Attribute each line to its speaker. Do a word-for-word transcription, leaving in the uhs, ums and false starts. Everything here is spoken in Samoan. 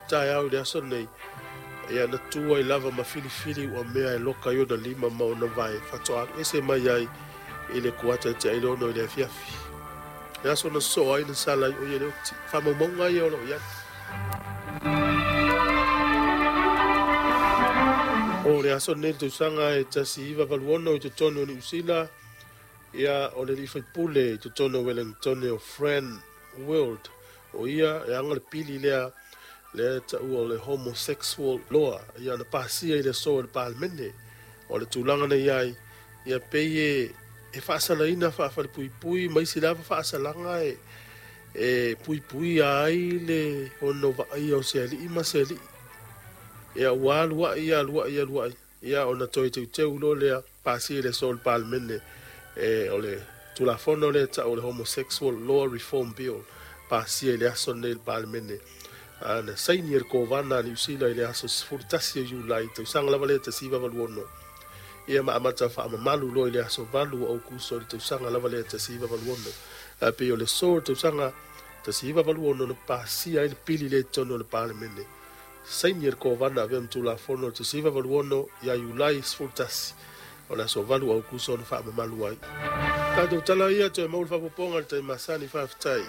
Speaker 1: taeao i le aso nei. Ia na tu ai lava ma filifili ua mea e loka i ona lima ma ona vae faatoa alu ese mai ai i le kuata e te ailono i le afiafi. Le aso na sosoo ai na sala ai o ia le oti. Faamaumauga ia o lo o i ai. O le aso nei le tausaga e tasi iva valu ono i totonu o Niu Sila, ia o le alii faipule i totonu o Wellington o Fran Wilde. O ia e aga le pili lea lea taua o le homosexual law, ia na pasia i le aso e le Palemene. O le tulaga na i ai, ia pei e e faasalaina faafalepuipui ma isi lava faasalaga e e puipuia ai le ono vaaia o se alii ma se alii. Ia ua alu ai alu ai alu ai, ia ona toe teuteu loa lea pasia i le aso o le Palemene e o le Tulafono lea ta'u o le Homosexual Law Reform Bill, pasia i le aso lenei i le Palemene. Na saini e le Kovana a Niu Sila i le aso sefulu tasi o Iulai tausaga lava lea tasi iva valu ono. Ia ma amata faamamalu loa i le aso valu o Aukuso i le tausaga lava lea tasi iva valu ono. Ae pei o le aso o le tausaga tasi iva valu ono na pasia ai le pili lea i totonu o le Palemene. Saini e le Kovana avea ma Tulafono o le tasi iva valu ono ia Iulai sefulu tasi o le aso valu o Aukuso na faamamalu ai. Tatou tala ia toe maua le faaopoopoga i le taimi masani. Faafetai.